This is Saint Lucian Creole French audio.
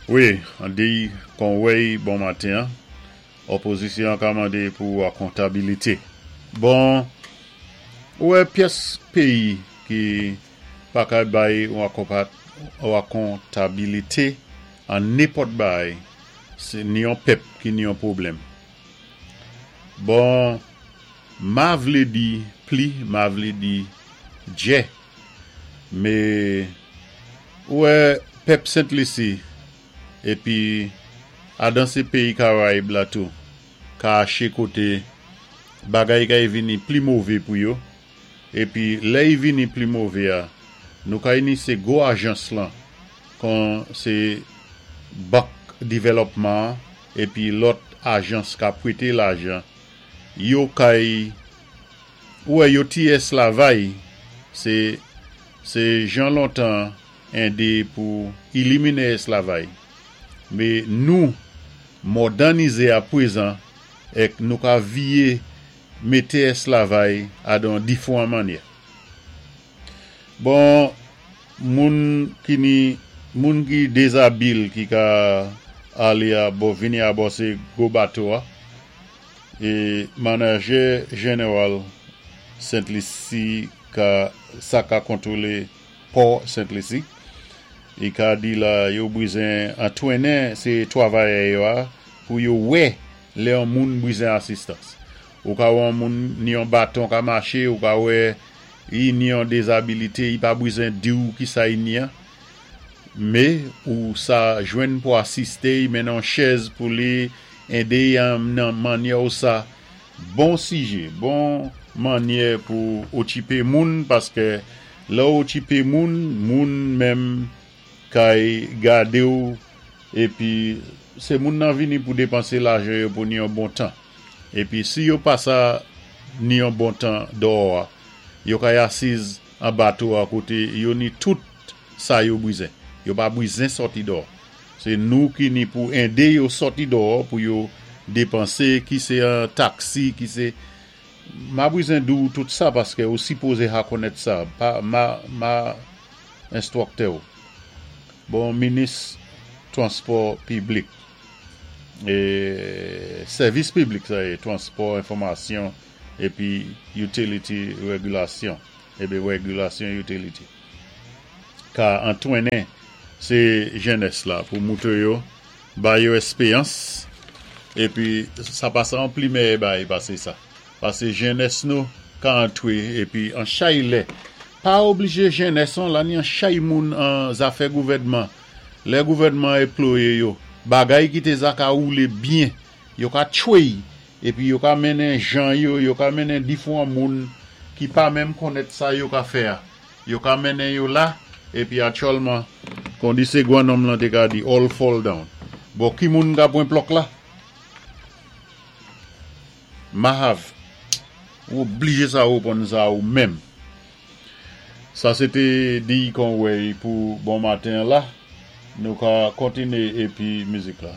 Wi, an di kon wèy bon maten an, opozisyon an ka mandé pou akontabilité. Bon, ou wè pyès péyi ki pa ka bay yon akontabilité an nenpòt bagay, sé ni yon pèp ki ni yon pwoblèm. Bon, ma vlé di pli, ma vlé di djè, mé ou wè pèp Sent Lisi épi adan sé péyi Karayib la tou ka aché koté bagay kay vini pli mové pou yo, épi lè y vini pli mové a, nou kay ni sé gwo ajans lan kon sé bank divèlòpman an épi lòt ajans ka pwété lajan yo kay ou wè yo ti èslavay sé sé jan lontan édé pou ilimine èslavay mé nou mòdannizé a pwézan èk nou ka viyé mété èslavay adan difwan mannyè. Bon, moun ki ni moun ki dezabil ki ka alé a bò vini a bò sé gwo bato a é manajè jeneral Sent Lisi ka sa ka kontwolé pò Sent Lisi i ka di la yo bwizen antwennen sé twavayè yo a pou yo wè lè yon moun bwizen asistans. Ou ka wè yon moun ni yon baton ka maché, ou ka wè i ni yon dezabilité, i pa bwizen di-w kisa i ni an, mé ou sa jwenn pou asisté i, mennen yon chèz pou li, édé i an nan mannyè ou sa bon sijé, bon mannyè pou ochipé moun paskè lè ou ochipé moun, moun menm kay gadé-w épi sé moun nan vini pou dépansé lajan yo pou ni yon bon tan. Épi si yo pa sa ni yon bon tan dòò a, yo kay asiz an bato a koté yo ni tout sa yo bwizen. Yo pa bwizen sòti dòò. Sé nou ki ni pou édé yo sòti dòò pou yo dépansé ki sé an taksi, ki sé ma bwizen di-w tout sa paskè ou sipozé ha konnèt sa, pa ma ma enstwòktè-w. Bon minis twanspò piblik. E sèvis piblik sa yé, twanspò, enfòmasyon épi utility regulation, épi regulation utility ka antwennen sé jènès la pou moutre yo, ba yo èspéyans épi sa pa sa an pli mèyè bagay pasé sa. Pasé jènès nou ka antwé épi an chay lè pa oblije jènès an la ni an chay moun an zafè gouvèdman Lè gouvènman eploye yo, bagay ki te za ka woule byen, yo ka tchwey, épi yo ka mennen jan yo, yo ka mennen difwan moun ki pa menm konnèt sa yo ka fè a. Yo ka mennen yo la, épi aktyèlman, kon di sé gwan-nonm lan té ka di, all fall down. Bon, ki moun ka pwan plòk la? Mahav, ou oblije sa reponn sa ou menm. Sa sé té Diy Conway pou bon maten an la. Nou ka kontiné épi mizik la.